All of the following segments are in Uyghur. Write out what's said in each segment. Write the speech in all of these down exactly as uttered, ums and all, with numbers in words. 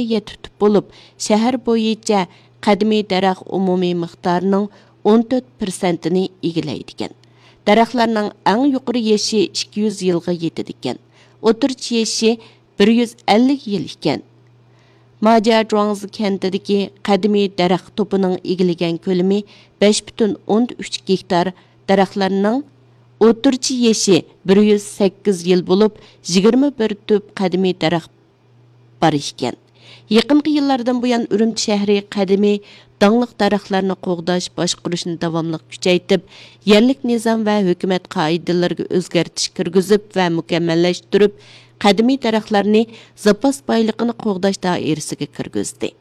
يەتتە تۈپ بولۇپ، شەھەر بويىچە قەدىمىي دەرەخ ئومۇمىي مىقدارىنىڭ ئون تۆت پىرسەنتىنى ئىگىلەيدىكەن. دەرەخلەرنىڭ ئەڭ يۇقىرى يېشى ئىككى يۈز يىلغا يېتىدىكەن. ئوتتۇرىچە يېشى بىر يۈز ئەللىك يىل ئىكەن. ماجيا جۇاڭزى كەنتىدىكى قەدىمىي دەرەخ توپىنىڭ ئىگىلىگەن كۆلىمى بەش پۈتۈن ئوندىن ئۈچ گېكتار، دەرەخلەرنىڭ ئوتتۇرىچە يېشى بىر يۈز سەككىز يىل بولۇپ، يىگىرمە بىر تۈپ قەدىمىي دەرەخ بار ئىكەن. يېقىنقى يىللاردىن بۇيان، ئۈرۈمچى شەھىرى قەدىمىي داڭلىق دەرەخلەرنى قوغداش، باشقۇرۇشنى داۋاملىق كۈچەيتىپ، يەرلىك نىزام ۋە ھۆكۈمەت قائىدىلىرىگە ئۆزگەرتىش كىرگۈزۈپ ۋە مۇكەممەللەشتۈرۈپ، قەدىمىي دەرەخلەرنى زاپاس بايلىقىنى قوغداش دائىرىسىگە كىرگۈزدى.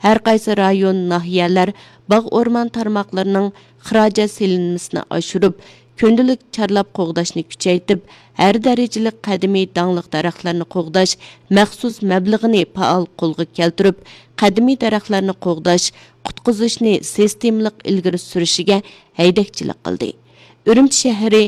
ھەر قايسى رايون، ناھىيەلەر باغ ئورمان تارماقلىرىنىڭ خىراجەت سېلىنمىسىنى ئاشۇرۇپ، كۈندىلىك چارلاپ قوغداشنى كۈچەيتىپ، ھەر دەرىجىلىك قەدىمىي داڭلىق دەرەخلەرنى قوغداش مەخسۇس مەبلىغىنى پائال قولغا كەلتۈرۈپ، قەدىمىي دەرەخلەرنى قوغداش، قۇتقۇزۇشنى سىستېمىلىق ئىلگىرى سۈرۈشىگە ھەيدەكچىلىك قىلدى. ئۈرۈمچى شەھىرى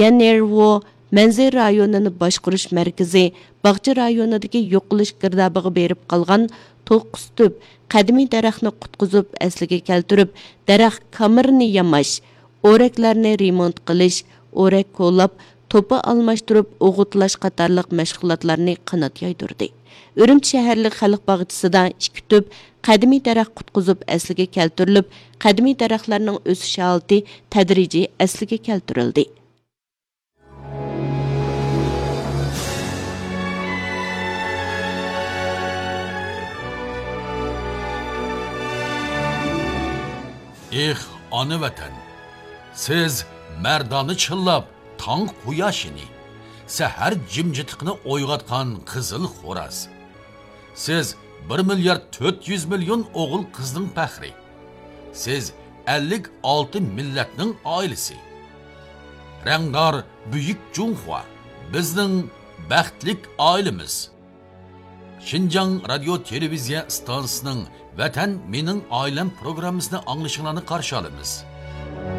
يەنئېرۋو مەنزىرە رايونىنى باشقۇرۇش مەركىزى باغچە رايونىدىكى يوقىلىش گىردابىغا بېرىپ قالغان توققۇز تۈپ قەدىمىي دەرەخنى قۇتقۇزۇپ ئەسلىگە كەلتۈرۈپ، دەرەخ كامىرىنى ياماش، ئورەكلەرنى رېمونت قىلىش، ئورەك كولاپ، توپا ئالماشتۇرۇپ ئوغۇتلاش قاتارلىق مەشغۇلاتلارنى قانات يايدۇردى. ئۈرۈمچى شەھەرلىك خەلق باغچىسىدا ئىككى تۈپ قەدىمىي دەرەخ قۇتقۇزۇپ ئەسلىگە كەلتۈرۈلۈپ، قەدىمىي دەرەخلەرنىڭ ئۆسۈش ھالىتى تەدرىجىي ئەسلىگە كەلتۈرۈلدى. ئېھ، ئانا ۋەتەن! سىز مەردانە چىللاپ تاڭ قۇياشىنى، سەھەر جىمجىتلىقىنى ئويغاتقان قىزىل خوراز. سىز بىر مىليارد تۆت يۈز مىليون ئوغۇل قىزنىڭ پەخرى. سىز ئەللىك ئالتە مىللەتنىڭ ئائىلىسى. رەڭدار بۈيۈك جۇڭخۇا، بىزنىڭ بەختلىك ئائىلىمىز. شىنجاڭ رادىيو تېلېۋىزىيە ئىستانسىسىنىڭ ۋەتەن مېنىڭ ئائىلەم پروگراممىسىنى ئاڭلىشىڭلارنى قارشى ئالىمىز.